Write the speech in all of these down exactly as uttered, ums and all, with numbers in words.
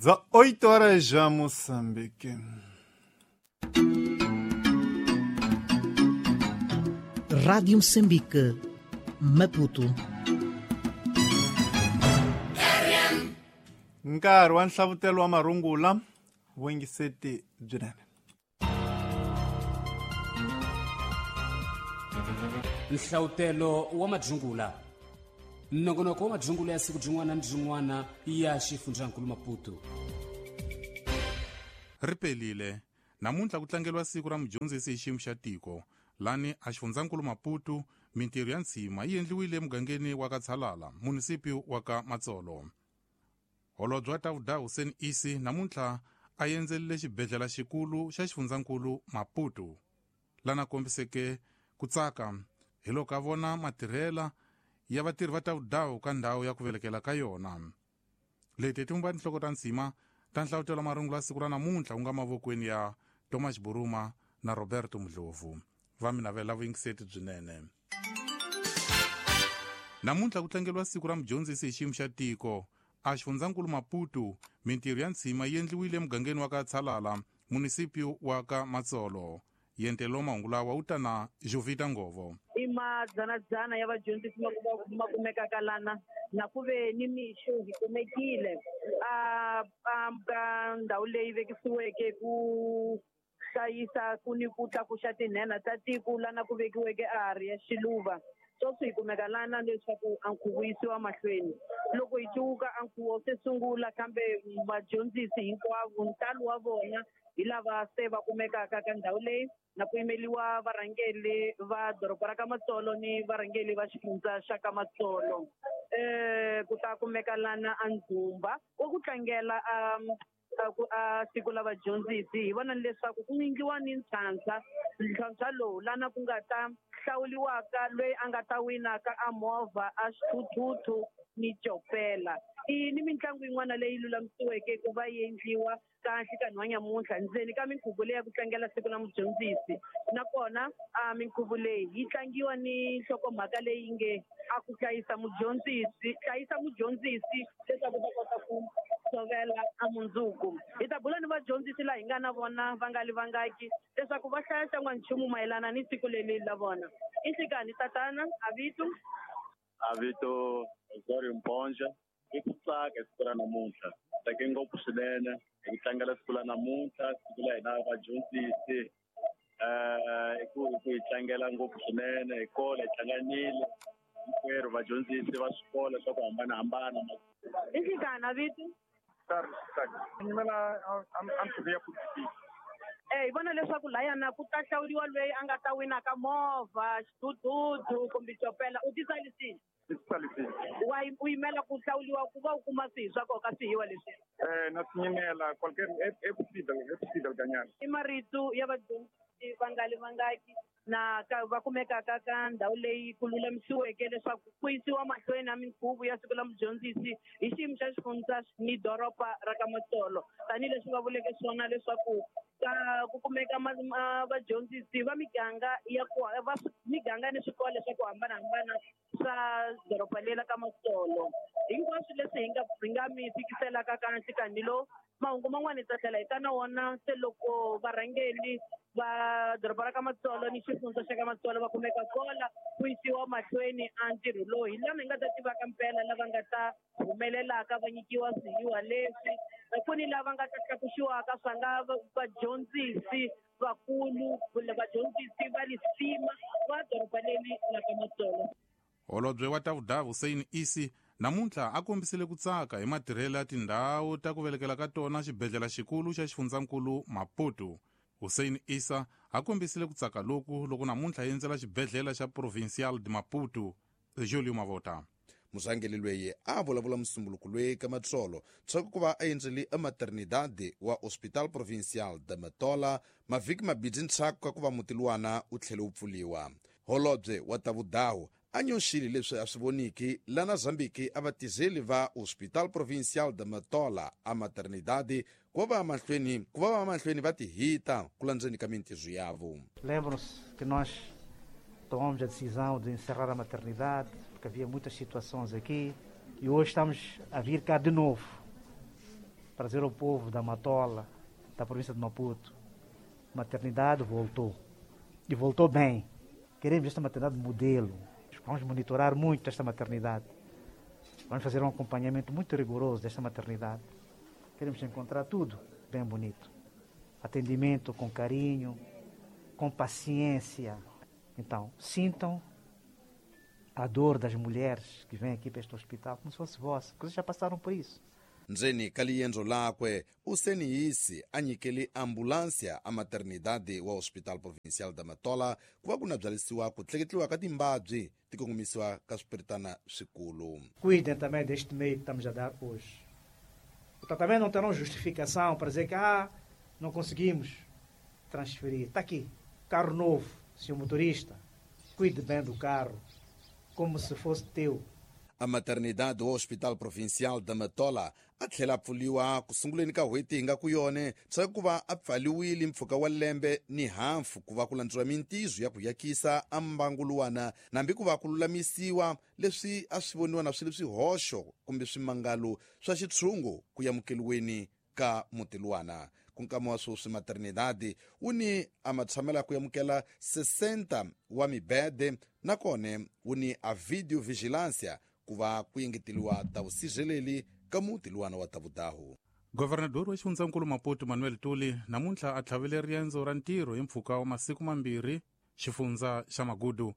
Dezoito horas já, Moçambique. Rádio Moçambique, Maputo. Nkarhi wa nhlavutelo wa marungula vuyingiseti byinene. Nhlavutelo wa madzungula nongonoko wa madzungula ya siku byin'wana ni byin'wana ya xifundzankulu Maputo. Ri pelile namuntlha ku tlangeriwa siku ra mudyondzisi hi xiyimo xa tiko lani a xifundzankulu Maputo. Mintirho ya ntshima yi endliwile emugangeni wa ka Tshalala, munisipi wa ka Matsolo. Holobye wa Tavhuda Hussein Isi namuntlha a endzelile xibedhlele xikulu xa xifundzankulu Maputo, lana kombiseke ku tsaka hi loko a vona matirhela ya vatirhi va Tavhuda ka ndhawu ya ku velekela ka yona. Leti ti vumba tinhloko ta ntshima ta nhlavutelo marungula siku ra namuntlha ku nga mavokweni ya Thomas Buruma na Roberto Mdlovu. Va mi navela vuyingiseti byinene. Namuntlha ku tlangeriwa siku ra mudyondzisi hi xiyimo xa tiko a xifundzankulu Maputo. Mintirho ya ntshima yi endliwile emugangeni wa ka Tshalala, munisipi wa ka Matsolo. Yentelo mahungu lawa wu ta na Jovita Ngovo. I madzanadzana ya vadyondzisi ma kumekaka lana na ku ve ni mixo hi kumekile a ka ndhawu leyi vekisiweke ku hlayisa ku ni ku tlakuxa tinhenha ta tiko lana ku vekiweke a hari ya xiluva. Sweswi hi kumeka lana leswaku a nkhuvo yisiwa mahlweni. Loko hi cuka a nkhuvo se sungula, kambe vadyondzisi hinkwavo ntalo wa vona hi lava se va kumekaka ka ndhawu leyi na ku yimeliwa varhangeri va doroba ra ka Matsolo ni varhangeri va xifundza xa ka Matsolo. Eh ku ta kumeka lana a ndzumba wa ku tlangela a a siku la vadyondzisi. Hi vona leswaku ku endliwa ni ntlhantlha ntlhantlha lowu lana ku nga ta hlawuliwaka loyi a nga ta winaka a movha a xithuthuthu ni copela. I ni mitlangu yin'wana leyi lulamisiweke ku va yi endliwa kahle ka nhanyamuntlha ndzeni ka minkhuvo leyi ya ku tlangela siku la mudyondzisi. Nakona a minkhuvo leyi yi tlangiwa ni nhlokomhaka leyi nge a ku hlayisa mudyondzisi, hlayisa mudyondzisi leswaku ta kota ku tshovela a mundzuku. Hi ta bula ni vadyondzisi laha hi nga na vona va nga li vangaki leswaku va hlaya xan'wanchumu mayelana ni siku leri la vona. I nhlikani tatana a vito? A vito Zori Mponja. I ku tsaka siku ra namuntlha, tsake ngopfu swinene hi ku tlangela siku la namuntlha, siku la hina vadyondzisi. Eh i ku hi tlangela ngopfu swinene hi kola hi hlanganile hinkwerhu vadyondzisi va swikolo swa ku hambanahambana. I nhlikani a vito? Eh hi vona leswaku layana ku ta hlawuriwa loyi a nga ta winaka movha, xithuthuthu kumbe copela. U titsalisile? Wa u yimela ku hlawuriwa ku va u kuma swihi swa nkoka swihiwa leswi? Eh na swi yimela qualquer é possível, é possível ganhar. I marito ya vadyondzisi va nga li vangaki na ka va kumekaka ka ndhawu leyi ku lulamisiweke leswaku ku yisiwa mahlweni na minkhuvo ya siku la mudyondzisi hi xiyimo xa xifundza ni doroba ra ka Matsolo. Tanihileswi va vuleke swona leswaku ka ku kumeka vadyondzisi va miganga ya ku va miganga ni swikolo swa ku hambanahambana swa doroba leri ra ka Matsolo. Hinkwaswo leswi hi nga hi nga mi fikiselaka ka nhlikani lowu, mahungu man'wana hi ta tlhela hi ta na wona se loko varhangeri va doroba ra ka Matsolo ni xifundza xa ka Matsolo va kumeka kola ku yisiwa mahlweni a ntirho lowu. Hi lama hi nga ta tivaka mpela lava nga ta humelelaka va nyikiwa swihiwa leswi, ku ni lava nga ta tlakuxiwaka swa nga vadyondzisi vakulu kumbe vadyondzisi va lisima va doroba leri ra ka Matsolo. Holobye wa Tavhuda Hussein Isi namuntlha a kombisile ku tsaka hi matirhelo ya tindhawu ta ku velekela ka tona xibedhlele xikulu xa xifundzankulu Maputo. Hussein Issa a kombisile ku tsaka loku loko namuntlha endzela xibedhlele xa Provincial de Maputo. Julio Mavota. Murhangeri loyi a vulavula musumbuluko loyi ka Matsolo tshaku ku va a endzele ematernidade wa Hospital Provincial de Matola mavhiki mabidi ntshaku ka ku va muti luwana wu tlhele wu pfuliwa. Holobye wa Tavhudawu a nyoxile leswi a swi voniki lana Zambiki a vatizeli va Hospital Provincial de Matola a maternidade ku va mahlweni ku va mahlweni va tihita ku landzeni ka mintirho yavo. Lembram-se que nós tomamos a decisão de encerrar a maternidade porque havia muitas situações aqui e hoje estamos a vir cá de novo Para dizer ao povo da Matola, da província de Maputo, maternidade voltou. E voltou bem. Queremos esta maternidade modelo. Vamos monitorar muito esta maternidade. Vamos fazer um acompanhamento muito rigoroso desta maternidade. Queremos encontrar tudo bem bonito. Atendimento com carinho, com paciência. Então, sintam a dor das mulheres que vêm aqui para este hospital como se fosse vossa, porque vocês já passaram por isso. Ndzeni ka liendzo lakwe u seniyisi a nyikele ambulância a maternidade wa Hospital Provincial da Matola ku va ku na byalisiwa ku tleketliwa ka timbabyi ti kongomisiwa ka swipiritana swikulu. Cuidem também deste meio que estamos a dar hoje. Também não terão justificação para dizer que ah, não conseguimos transferir. Está aqui, carro novo, senhor motorista, cuide bem do carro, como se fosse teu. A maternidade do Hospital Provincial da Matola a tlhela pfuliwa ku sunguleni ka n'hweti hi nga ku yone swa ku va a pfaliwile mpfhuka wa lembe ni hafu ku va ku landziwa mintizo ya ku yakisa a mbanguluwana nambi ku va ku lulamisiwa leswi a swi voniwa na swi ri swihoxo kumbe swimangalo swa xitshungu ku yamukeliweni ka mutilwana. Ku nkama wa sweswi maternidade wu ni a matshamela ku yamukela sessenta wa mibede nakone wu ni a video vigilância ku va ku yengeteliwa ta vusirheleli ka muti luwana wa Tavudahu. Governador wa xifundzankulu Maputo Manuel Tuli namuntlha a tlhavele riendzo ra ntirho hi mpfhuka wa masiku mambirhi xifundza xa Magudu.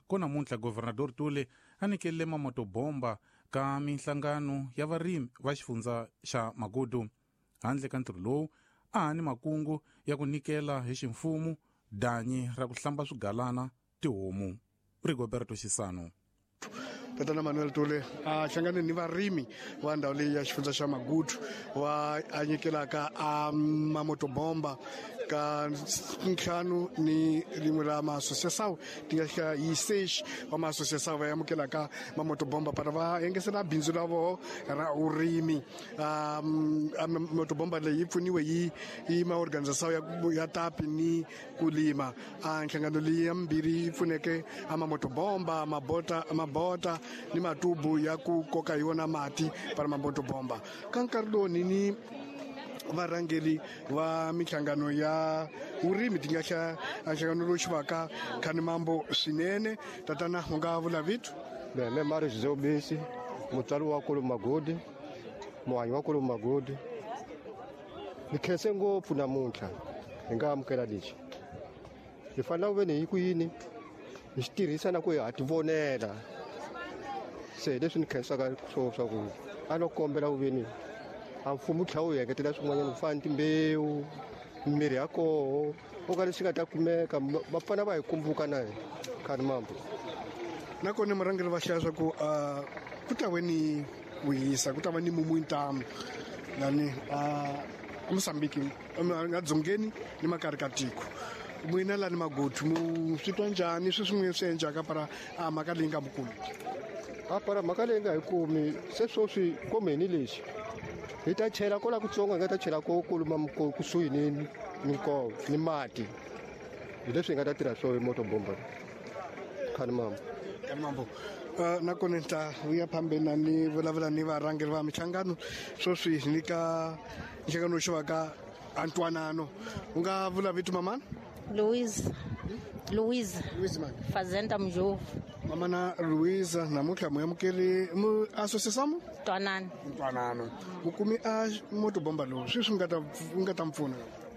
Ko namuntlha Governador Tuli a nyikele mamotobomba ka minhlangano ya varimi va xifundza xa Magudu. Handle ka ntirho lowu a ha ni makungu ya ku nyikela hi ximfumo danyi ra ku hlamba swigalana tihomu. Rigoberto Xisano. Tatana Manuel Tule a hlangane ni varimi va ndhawu leyi ya xifundza xa Magudu wa a nyikelaka a mamotobomba ka ntlhanu ni rin'we ra maassociação ti nga xika yi seis wa maassociação va amukelaka mamotobomba para va engesela bindzu ra voho ra urimi. A motobomba leyi yi pfuniwe yi yi maorganização ya ya tapi ni kulima. A nhlangano leyi ya mbirhi yi pfuneke a mamotobomba mabota mabota ni matubu ya ku koka yona mati para mamotobomba. Ka nkarhi lowu ni ni varhangeri va minhlangano ya vurimi ti nga xa nhlangano lowu xi vaka Khanimambo swinene. Tatana u nga vula vito? Me Mario José Ubisi, mutswari wa kulu Magodi, muhanyi wa kulu Magodi. Ni khense ngopfu namuntlha hi nga amukela lexi. Hi fanele ku ve ni hi ku yini hi xi tirhisa na ku hi ha ti vonela. Se leswi ni khensaka swo swa ku a no kombela ku ve ni a mfumo tlha wu engetela swin'wanyana ku fana ni timbewu, mirhi ya koho o ka leswi nga ta kumeka va fana va hi kumbuka na hina Khanimambo. Nakona murhangeri va hlaya swa ku ku ta ve ni ku hisa, ku ta va ni mumu ntamu lani a Mozambique nga dzongeni ni makari ka tiko. N'wina lani Magudu mu swi twa njhani sweswi n'wina swi endlaka para a mhaka leyi nga mi kumi? A para mhaka leyi nga hi kumi se sweswi komeni lexi hi ta chela kola kutsongo hi nga ta chela ko kuluma kusuhi ni ni nkova ni mati. Hi leswi hi nga ta tirha swo hi motobomba. Khanimambo. Khanimambo. Nakona ni ta vuya phambeni na ni vulavula ni varhangeri va minhlangano sweswi ni ka nhlangano xi va ka Antwanano. U nga vula vito mamana? Louise. Louise. Louise mani? Fazenda Mjovu. Mamana Louise namuntlha mu amukeri mu associação? Ntwanano. Ntwanano. Mu kumi a motobomba lowu sweswi nga ta nga ta mpfuna?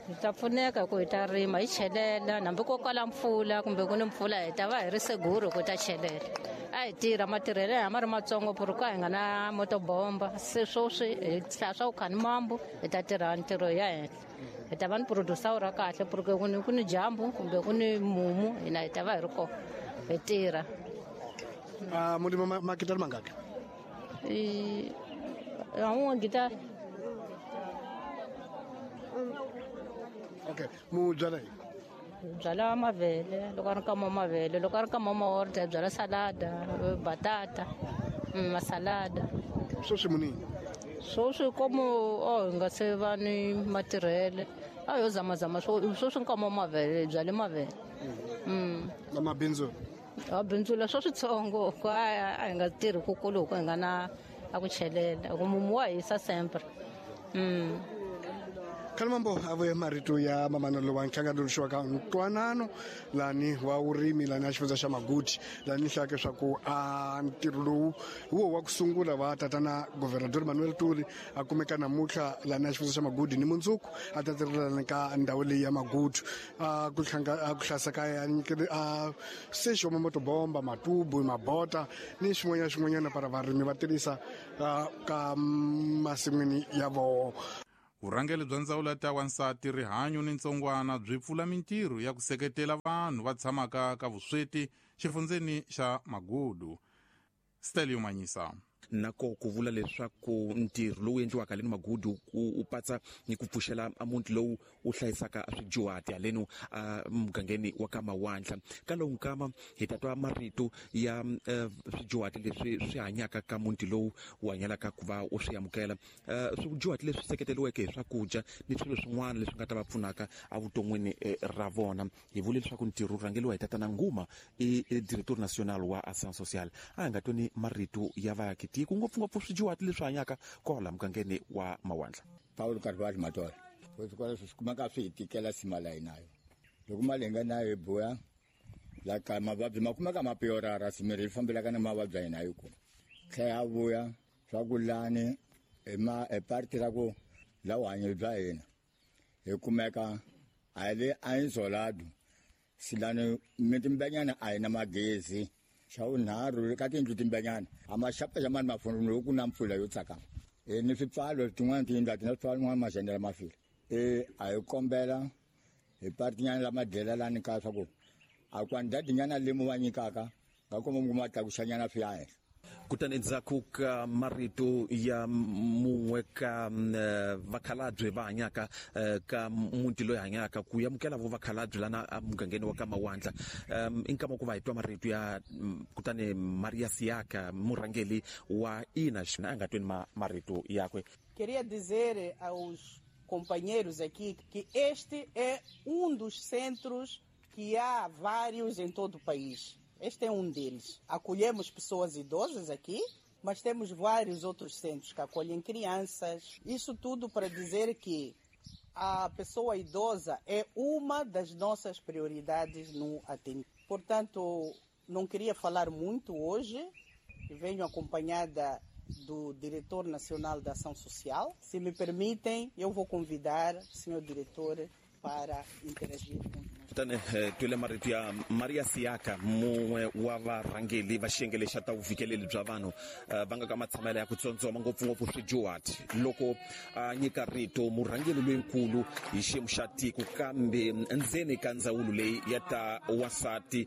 Hi ta pfuneka ku hi ta rima hi chelela hambi ko kwala mpfula kumbe ku ni mpfula hi ta va hi ri seguro ku ta chelela. A hi tirha matirhelo ya ma ri matsongo ku ka hi nga na motobomba se sweswi hi hlaya swa ku Khanimambo hi ta tirha ntirho ya henhla. Hi ta va ni producer ra kahle porque ku ni ku ni dyambu kumbe ku ni mumu hina hi ta va hi ri kona hi tirha. A mu lima makitari mangaki? I a gitari. Okay, mu byala yini? Byala mavele, loko a ri nkama wa mavele, loko a ri nkama wa maorda hi byala salada, batata, masalada. Sweswi mu nini? Sweswi komu o hi nga se va ni matirhele a yo zamazama sweswi nkama wa mavele hi byale mavele. Na mabindzu? A bindzula swa switsongo ku a hi nga tirhi kukulu hi ku hi nga na a ku chelela ku mumu wa hisa sempre. Mm. Kalimambo ave marito ya mamanelo wa nhlangano ka ntwanano lani wa urimi lani a xifundza xa Maguti lani hlaka swa ku a ntirho lowu wo wa ku sungula wa tatana Governador Manuel Tuli a kumeka namuntlha lani a xifundza xa Maguti ni mundzuku a ta tirhelana ka ndhawu leyi ya Maguti a ku hlanga a ku hlasa ka ya a sexo moto bomba matubu mabota ni swin'wanyana swin'wanyana para varimi va tirhisa ka masin'wini ya vona. Vurhangeri bya ndzawulo ya ta wansati rihanyo ni ntsongwana byi pfula mintirho ya ku seketela vanhu va tshamaka ka vusweti xifundzeni xa Magudu. Stelio Manyisa nako ku vula leswaku ntirho lowu endliwaka haleni Magudu u patsa ni ku pfuxela a muti lowu u hlayisaka swidyuhati haleni a mugangeni wa ka Mawandla. Ka lowu nkama hi ta twa marito ya swidyuhati leswi swi hanyaka ka muti lowu wu hanyelaka ku va u swi amukela, swidyuhati leswi seketeriweke hi swakudya ni swilo swin'wana leswi nga ta va pfunaka evuton'wini ra vona. Hi vule leswaku ntirho wu rhangeriwa hi tatana Nguma i directeur national wa Action Sociale. A hi nga tweni marito ya vaaki tiko ngopfungopfu swidyuhati leswi hanyaka kwala mugangeni wa Mawandla. Paulo Carvalho Matola kweswi swi kumeka swi hi tikela sima la hinayo loko mali hi nga nayo hi buya la ka mavabyi ma kumeka ma piorara simirhi yi fambelaka na mavabyi ya hina yi ku tlhela ya vuya swa ku lani hi ma hi parti ra ku la vuhanyo bya hina hi kumeka a hi le a insolado silani mitimbanyana a hi na magezi. Xa vunharhu ka tiyindlu timbanyana a ma xapa mani mafoni loko ku na mpfula yo tsakama e ni swipfalo tin'wana tiyindlu a ti na swipfalo n'wana maxendela ma file e a hi kombela hi partinyana lama dlela lani ka swa ku a kwandadinyana lemu va nyikaka nga komba ku ma tlakuxanyana swi ya henhla. Kutani endzhaku ka marito ya mun'we ka vakhalabye va hanyaka ka muti loyi hanyaka ku amukela vo vakhalabye lana emugangeni wa ka Mawandla, i nkama ku va hi twa marito ya kutani Maria Siaka murhangeri wa I N A a nga tweni marito yakwe. Queria dizer aos companheiros aqui que este é um dos centros que há vários em todo o país. Este é um deles. Acolhemos pessoas idosas aqui, mas temos vários outros centros que acolhem crianças. Isso tudo para dizer que a pessoa idosa é uma das nossas prioridades no atendimento. Portanto, não queria falar muito hoje. Venho acompanhada do Diretor Nacional da Ação Social. Se me permitem, eu vou convidar o senhor diretor para interagir com Kutani twile marito ya Maria Siaka mun'we wa varhangeri va xiyenge xa ta vufikeleli bya vanhu va nga ka matshamelo ya ku tsondzoma ngopfungopfu swidyuhati loko a nyika rito murhangeri loyinkulu hi xiyimo xa tiko kambe ndzeni ka ndzawulo leyi ya ta wasati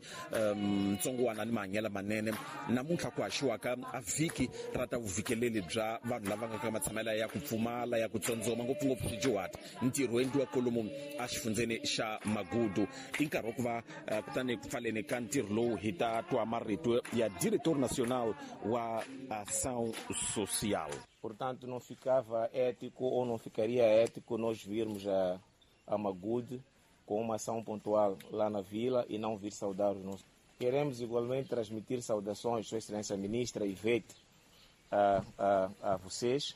ntsongwana ni mahanyelo manene. Namuntlha ku haxiwaka a vhiki ra ta vufikeleli bya vanhu lava nga ka matshamelo ya ku pfumala ya ku tsondzoma ngopfungopfu swidyuhati. Ntirho wu endliwa kolomu exifundzeni xa Magudu. I nkarhi wa ku va kutani ku pfaleni ka ntirho lowu hi ta twa marito ya Diretor Nacional wa Ação Social. Portanto, não ficava ético ou não ficaria ético nós virmos a, a Magude com uma ação pontual lá na vila e não vir saudar os nossos. Queremos igualmente transmitir saudações, Sua Excelência Ministra Ivete, a, a, a vocês.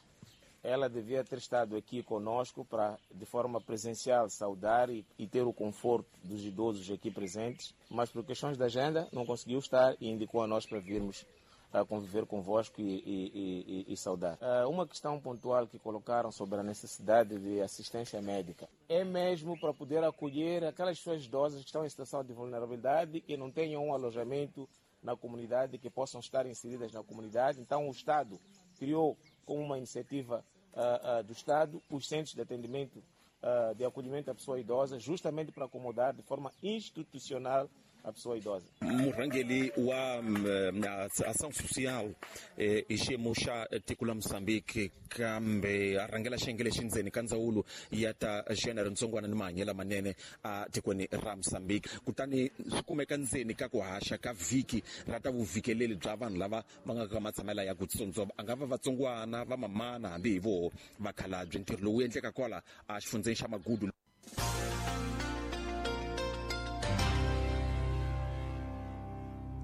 Ela devia ter estado aqui conosco para, de forma presencial, saudar e, e ter o conforto dos idosos aqui presentes, mas por questões da agenda não conseguiu estar e indicou a nós para virmos a conviver convosco e, e, e, e saudar. Uma questão pontual que colocaram sobre a necessidade de assistência médica é mesmo para poder acolher aquelas pessoas idosas que estão em situação de vulnerabilidade e não tenham um alojamento na comunidade, que possam estar inseridas na comunidade. Então o Estado criou, como uma iniciativa Uh, uh, do Estado, os centros de atendimento, uh, de acolhimento à pessoa idosa, justamente para acomodar de forma institucional a pessoa idosa. Murhangeri wa Ação Social i xiyimo xa tiko la Mozambique kambe a rhangela xiyenge lexi ndzeni ka ndzawulo ya ta xiyenge ntsongwana ni mahanyelo manene a tikweni ra Mozambique. Kutani swi kumeka ndzeni ka ku haxa ka vhiki ra ta vufikeleli bya vanhu lava va nga ka matshamela ya ku tsondzoma, a nga va vatsongwana va mamana hambi hi voho vakhalabye. Ntirho lowu endleka kwala a xifundzeni xa Magudu.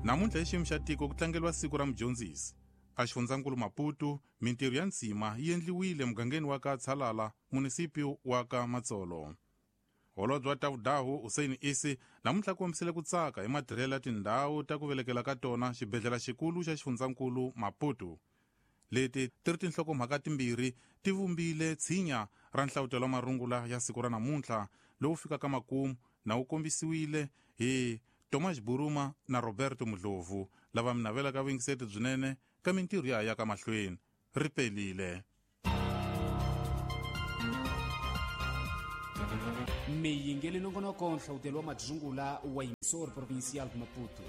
Namuntlha hi xiyimo xa tiko ku tlangeriwa siku ra mudyondzisi. Exifundzankulu Maputo mintirho ya nsima yi endliwile mugangeni wa ka Tshalala, munisipi wa ka Matsolo. Holobye wa Tavudahu Hussein Isi namuntlha kombisile ku tsaka hi matirhelo ya tindhawu ta ku velekela ka tona xibedhlele xikulu xa xifundzankulu Maputo. Leti ti ri tinhlokomhaka timbirhi ti vumbile tshinya ra nhlavutelo wa marungula ya siku ra namuntlha lowu fikaka makumu na wu kombisiwile hi Thomas Buruma na Roberto Mudlovu lava mi navelaka vuyingiseti byinene ka mintirho ya ya ka mahlweni. Ri pelile. Miyingeli nongonoko nhlawutelo wa madzungula wa Emissora Provincial de Maputo.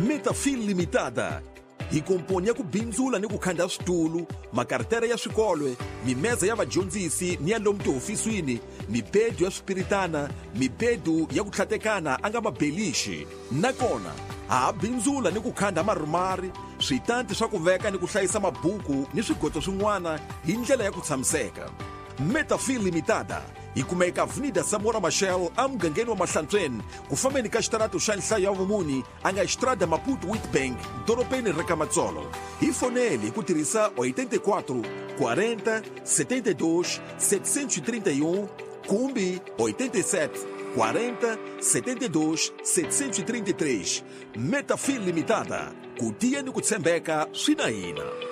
Metafil Limitada hi komponi ya ku bindzula ni ku khanda switulu, makartere ya swikolwe, mimeza ya vadyondzisi ni ya lomu tihofisini, mibedu ya swipiritana, mibedu ya ku tlhatekana a nga mabelixi. Nakona ha ha bindzula ni ku khanda marumari, switanti swa ku veka ni ku hlayisa mabuku ni swigoto swin'wana hi ndlela ya ku tshamiseka. Metafil Limitada hi kumeka Avenida Samora Machel emugangeni wa Mahlantsweni ku fambeni ka xitarato xa nhlayo ya vumuni a nga Estrada Maputo Witbank dorobeni ra ka Matsolo. Hi fonele hi ku tirhisa oitenta e quatro, quarenta, setenta e dois, setecentos e trinta e um kumbe oitenta e sete, quarenta, setenta e dois, setecentos e trinta e três. Metafil Limitada, ku tiya ni ku tshembeka swi na hina.